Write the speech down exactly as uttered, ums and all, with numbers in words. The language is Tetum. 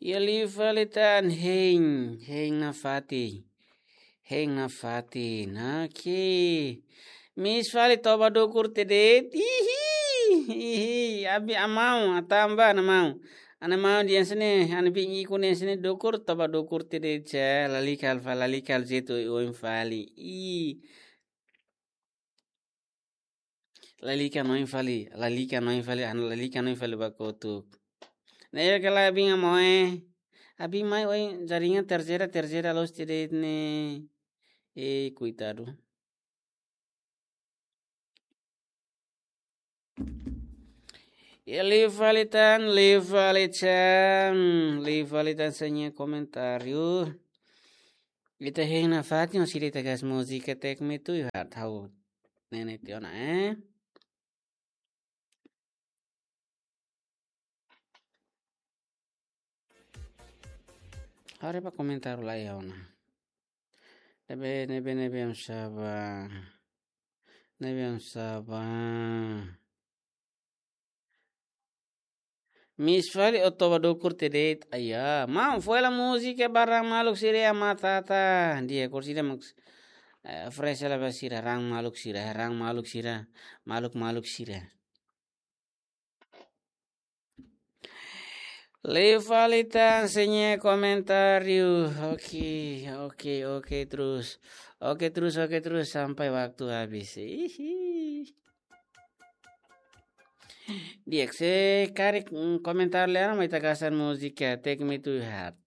Iha liu fali tan hein, hein nafatin. Hein nafatin, oke. Miss fali toba dukur tiha de'it. Ihi, ihi, abi amau, atamba namau. Ana mau dia sini, ana bin iku nia sini dukur, toba dukur tiha de'it, lalika alfa, lalika alzetu oin fali. Ih. Lalika no oin fali, lalika no oin fali, ana lalika no oin fali ba kotuk. Ne'e kala abin amau, eh. Abin mai oin jaringan terseira, terseira loos tiha de'it ne'e. Eh, koitadu. Iha liu fali tan, liu fali tan, liu fali tan, sei nia komentáriu. Ita hein nafatin, sira ita gas múzika Take Me To Your Heart, ha'u ne'e tiha ona, eh. Haree ba komentáriu lai ona. Ne'ebé, ne'ebé, ne'ebé, oinsá ba. Ne'ebé, oinsá ba. Miss fali o toba dukur tiha de'it, aia. Maun, foin hela múzika ba raan maluk sira iha Matata. Di'ak, ko'alia sira mak, eh, fresh hela ba sira, raan maluk sira, raan maluk sira, maluk-maluk sira. Liu fali tan, sei nia komentáriu. Oke, oke, oke terus. Oke terus, oke terus sampai waktu habis. Ihi. Di'ak, se karik, mm, komentáriu lai ona, mai ita gas múzika Take Me To Your Heart.